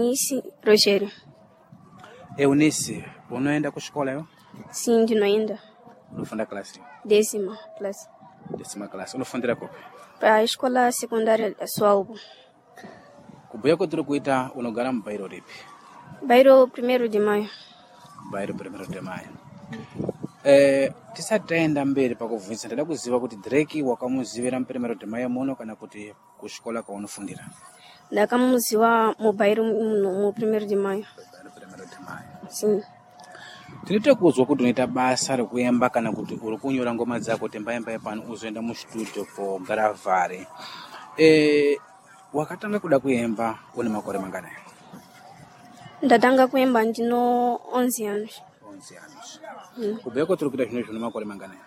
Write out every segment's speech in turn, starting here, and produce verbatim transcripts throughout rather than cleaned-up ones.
Eunice Rogério. Eunice, unoenda kuxikola yo? Sim, ndinoenda. Unofunda classe? Décima classe. Décima classe. Unofundira kupi? Para a escola secundária da Sualbo. Kubhuya kwetiri kuita unogara mubairo ripi? Bairro primeiro de Maio. Bairro Primeiro de Maio. Eh, tisati taenda mberi pakubvunza ndada kuziva kuti Drake wakamuzivira muPrimero de Maio muno kana kuti kuxikola kwaunofundira? Ndakamuziwa mu bairro muno mu primeiro de Maio. Bairro Primeiro de Maio. Sim. Tinoita kuzwa kuti unoita basa rekuemba kana kuti uri kunyora ngoma dzako kuti mbaemba pano uzoenda mustudio kogaravhari. Eh, wakatanga kuda kuemba une makore manganai? Ndatanga kuemba ndino onze anos. Onze anos. Kubhuya kwetiri kuita zvino zvino makore manganai?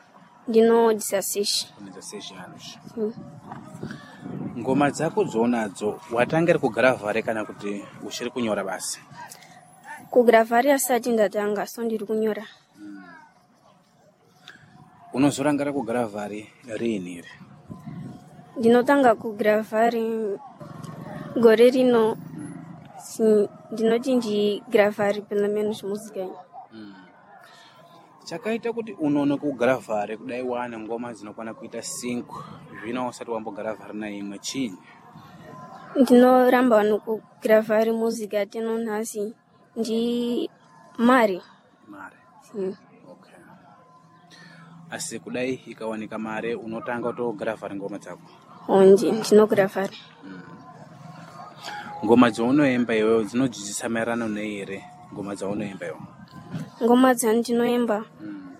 Ndino dezesseis. Une dezesseis anos. Sim. Ngoma dzako dzounadzo watanga ri kugaravhari kana kuti uchiri kunyora basi? Kugravari asati ndatanga, so ndiri kunyora. Unozorangara kugaravhari riini iri? Ndinotanga kugravari gore rino. Sim, ndinoti ndigravari pelo menos música. Chakaita kuti unonoke kugaravhari kudai wane ngoma dzinokwana kuita cinco zvino usati wambogaravhari naimwe chinyi? Ndinoramba nokugravari música teno nhasi ndi mari. Mare. Sim. Okay. Asi kudai ikawanika mare unotanga kutogaravhari ngoma dzako. Onde ndinogravari. Ngoma dzaunoemba iwewe dzinodzidzisa maererano nei here ngoma dzaunoemba iwe? Ngoma dzandinoemba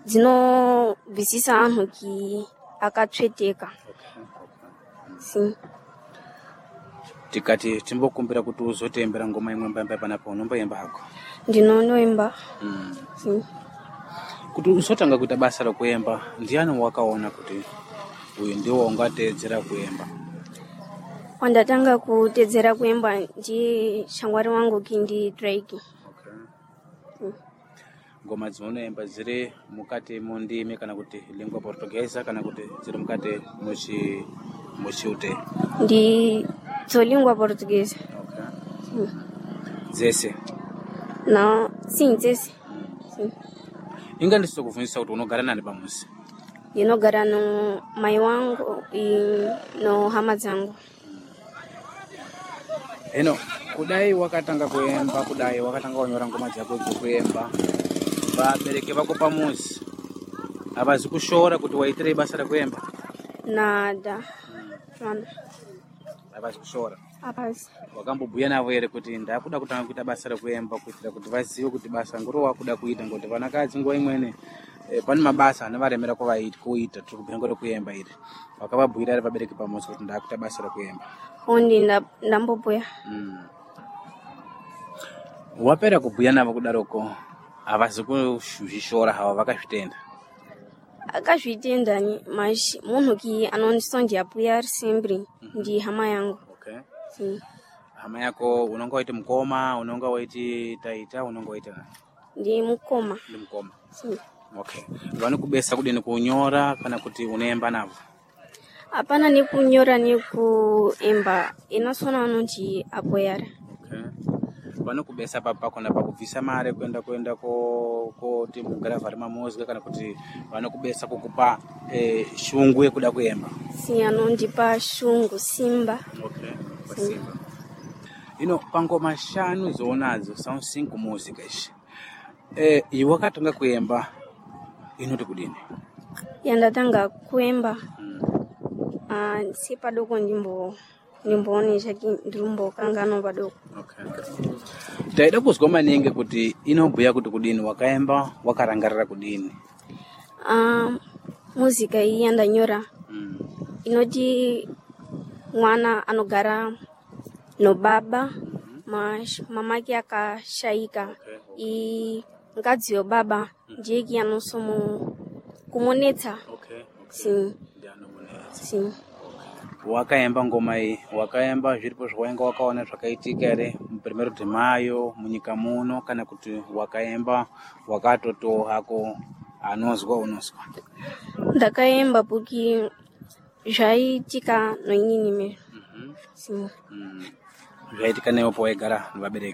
dzinobvisisa anhu ki akatsveteka. Okay. Okay. Sim. Tikati timbokumbira kuti uzotiembera ngoma imwe mbaemba panapa unomboemba hako. Ndinonoemba. Mm. Sim. Kuti uzotanga kuita basa rekuemba ndiani wakaona kuti uyu ndiwo ungateedzera kuemba? Wandatanga kutedzera kuemba ndi shangwari wangu ki ndi Drake. Okay. Ngoma dzaunoemba dziri mukati mundimi kana kuti lingua portuguesa kana kuti dziri mukati muchi muchiute? Ndi dzolingua portuguesa. Okay. Sim. Dzese. Não, sim, dzese. Sim. Inga ndisitokubvunzisa kuti unogara nani pamuzi? Ndinogara no mai wangu e no hama dzangu. Hino kudai wakatanga kuemba kudai wakatanga kunyora ngoma dzako dzekuemba vabereki vako pamuzi havazi kushora kuti waitirei basa rekuemba? Nada. Vana. Havazi kushora. Apazi. Wakambobhuya navo here kuti ndakuda kutanga kuita basa rekuemba kuitira kuti vazive kuti basa ngoro wakuda kuita ngokuti vanakadzi nguva imweni eh, pane mabasa anovaremera kuvaita kuita tiri kubhuya ngoro kuemba iri wakavabhuira ere vabereki pamuzi kuti ndakuita basa rekuemba? Ondi nda- ndambobhuya. Mm. Wapera kubhuya navo kudaroko havazi kuzvishora havo vakazvitenda. Akazvitenda ni mas munhu ki anondisondiapuya ari sempre ndi hama yangu. Okay. Sim. Hama yako unonga waiti mukoma, unonga waiti taita, unonga waiti nani? Ndi mukoma. Ndi mukoma. Sim. Okay. Vanokubesa kudini kunyora kana kuti unoemba navo? Hapana nekunyora nekuemba inasona anonzi apoyara. Okay. Vanokubesa papi pakona pakubvisa mare kuenda kuenda ko koti mugaravhari mamozwi kana kuti vanokubesa kukupa eh, shungu yekuda kuemba. Sim, anondipa shungu simba. Okay. Pasimba. Ino pangoma shanu dzounadzo são cinco músicas. Eh, iwe wakatanga kuemba inoti kudini? Yandatanga kuemba Mm. ah, si padoko ndimbo ndimboone chaki ndirimbokangano padoko. Okay. Taida kuzwa maningi kuti inobhuya kuti kudini wakaemba wakarangarira kudini. Ah, muzika iyi yandanyora Mm. inoti mwana anogara nobaba mas mamake akashaika Okay. i mukadzi webaba ndiye ki anosomo kumonetsa. Okay. Okay. Sim, Ndianomunetsa. sim. Wakaemba ngoma iyi wakaemba zviripo zvawainga wakaona zvakaitika here muPrimero de Maio munyika muno kana kuti wakaemba wakatotowo hako anozwa unozwa. Ndakaemba porque zvaitika noinini mesmo. Mm -hmm. Sim. Mm. Zvaitika newe pawaigara nevabereki.